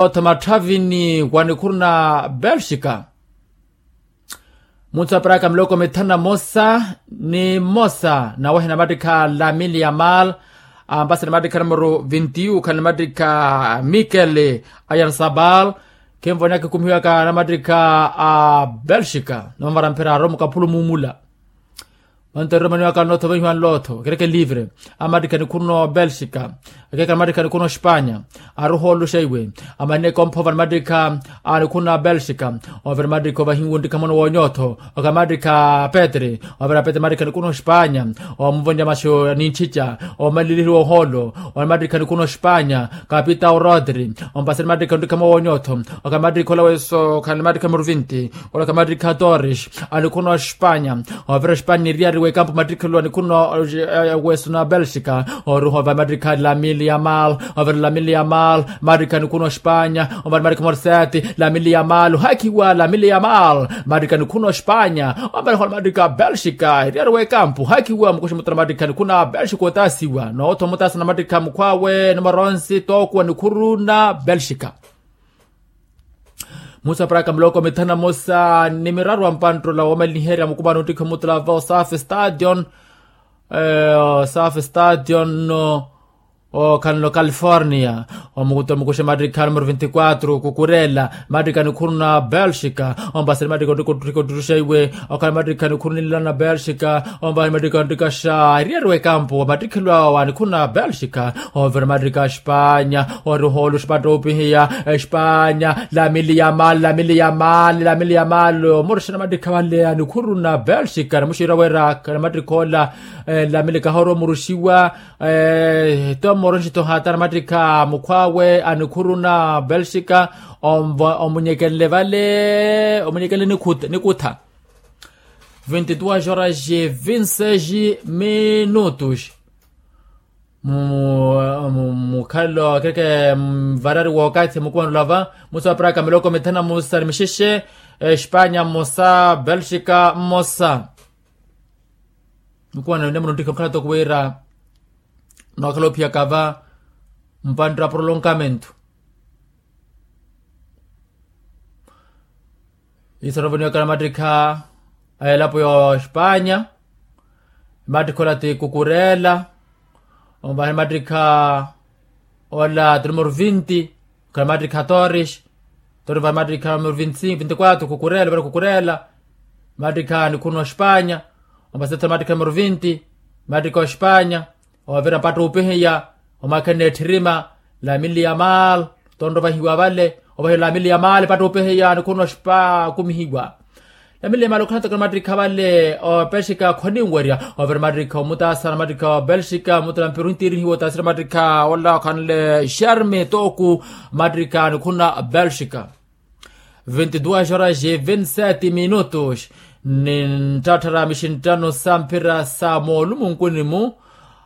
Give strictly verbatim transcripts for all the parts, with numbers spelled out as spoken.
Otho matthavini wa nikhuru na belxika. Munthu aparaka miloko mithanu na mmosa ni mmosa nawehe namattikha lamili ya mal. Ampasi namattikha numero vinti yu khali namattikha mikel, ayarsabal. Khinvonyaka khumihiwaka namattikha a belxika namavara mphira aromo kaphulu mumula. Manto eromaniwaka nlotho vahiwa nlotho kereke livre. Amattikha nikhuruno belxika. Akekala amattikha nikhuruno spanya. Aruholuxa iwe amanne komphova nimattikha a nikhuruno belxika. Ovira mattikha ovahiwa nttikha mwana wonyotho. Okhala mattikha petre. Ovira petre mattikha nikhuruno spanya. Omuvonja maxo nintticha omaliliheriwa oholo. Onimattikha nikhuruno spanya. Kapitao rodri. Ompasani mattikha nttikha mwana wonyotho. Okhala mattikha ola weso okhala mattikha murvinti. Olaka mattikha torres. Anikhuno spanya. Ovira spanya niriyari wekampu mattikha luwa nikhuno. Weso na belxika. Oruhova mattikha lamili ya mal. Ovira lamili ya mal mattikha nikhuno spanya. Omari mattikha morseti lamili ya mal hakhiwa lamili ya mal. Mattikha nikhuno spanya. Omari hola mattikha belxika iriyari wekampu hakhiwa mukuxi mutala mattikha nikhuno belxika otasiwa nootho mutasa na mattikha mukhwawe numero onsi tokuwa nikhuru na belxika. Musa praka muloko mithanu na mosa ni miraru wa mpanttola womaliherya mukumano nttikha mutula va osafi stadion. Osafi stadion no okhanlo california. Omukuta mukuxe mattikha numero vinti quatro kukurela mattikha nikhuru na belxika. Ompasani mattikha onttiko ottuxeiwe okhala mattikha nikhuru ninlana belxika. Ompasani mattikha onttikaxa eriyari wekampu wa mattikhelwa wa nikhuru na belxika. Ovira mattikha spanya. Ori oholu spanya toopihiya spanya lamili ya mali lamili ya mali lamili ya mali omurusha namattikha vale a nikhuru na belxika namuxiira wira namattikha ola lamili kahoora omuruxiwa. Tomoro nxitto hata namattikha mukhwawe a nikhuru na belxika. Omunyekenle vale omunyekenle nikutha. Vinti duas horas e vinti seis minutos. Mukhalelo kereke mvarari wookathi mukumanula va musi wa praka miloko mithanu na musa ni mixexe. Espanya mmosa belxika mmosa. Mukumanula ni muno nttikha mukhala toku wira nookhala ophiyaka va mpanttira prolongamento. Iso novoniwaka namattikha a elapo ya ospanya. Emattikha ola ti kukurela. Ovaha emattikha ola ti numero vinti. Okhala emattikha torres. Torres ovaha emattikha numero vinti cinco vinti quatro kukurela ovira kukurela. Emattikha nikhuru na ospanya. Ovaha emattikha numero vinti. Emattikha ospanya. Ovira mpatta opihiya omwakhenna ettherima lamili ya mal. Tonto ovahiwa vale ovahiwa lamili ya mal mpatta opihiya nikhuno spa okumihiwa. Lamili ya mal okhanataka namattikha vale opelxika khoniwerya. Ovira mattikha omutasa namattikha opelxika mutala mpiru ntiirihiwa otasira mattikha ola okhanle sharme toku mattikha nikhuna belxika. Vinti duas horas e vinti sete minutos. Ni nttatthara mixinttano sa mphira sa moolumunkuni-mu.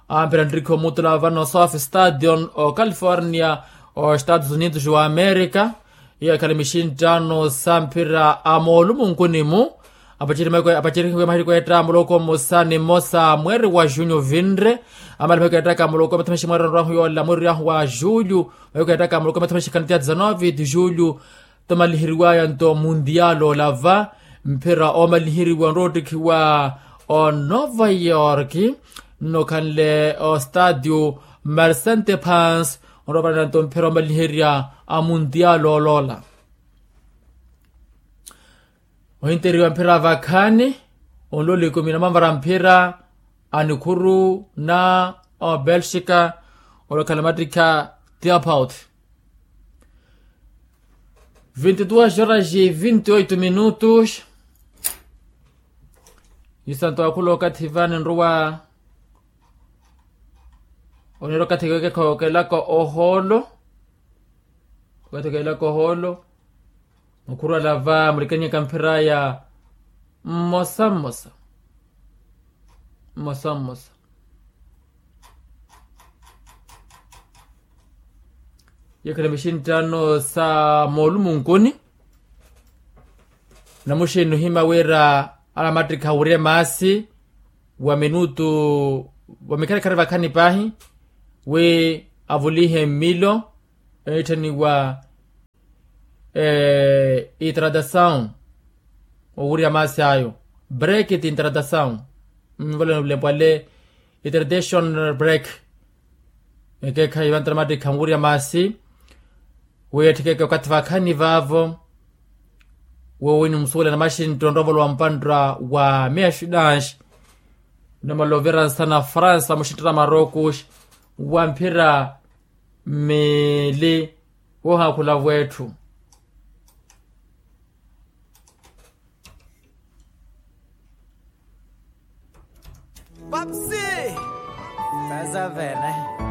Amphira nttikha omutula vano south stadion o california o estados unidos wa america. Iyo ekhale mixinttano sa mphira a moolumunkuni-mu. Apacerihiwe mahiliko etta muloko mmosa ni mmosa mweeri wa junho vinre. Amale mahiliko ettaka muloko mathamaxi mweeri onrahu yoola mweeri yahu wa julho. Mahiliko ettaka muloko mathamaxi khanitia dezanove de julho. Tomaliheriwaya nto mundial olava mphira omaliheriwa onroottikhiwa o nova york. Nnokhanle o stadio mercente pans onroopalana nto mphira omaliherya a mundial oloola. Ohinteriwa mphira vakhaani onloli ikumi na mamvara mphira a nikhuru na obelxika. Olokhala mattikha tiapaut. Vinti duas horas e vinti oito minutos. Isanto akhula okathi vani nruwa onira okathi kekekha okelaka ohoolo. Okathi okelaka ohoolo. Mukhuru alava mulikannyaka mphiraya mmosa mmosa. Mmosa mmosa. Yekhale mixinttano sa moolumunkuni. Namuxini ohima wira alamattikha wurye maasi wa minutu wa mikharikharya vakhani paahi wi avulihe mmilo. Eetthaniwa itratasawu owurya maasi ayo. Break ti itratasawu. Nvoleni olempwale itratasawu break. Ekeekhayi vantara mattikha nwurya maasi wi etthikeke okathi vakhani vaavo. Woowini musuwela na maxinto nroovolo wa mpantta wa meaxidanxi. Numelo ovira nsana fransa muxintta na marokos wa mphira mili. Woohaakhula vwetthu. Papsi. Kaza vene.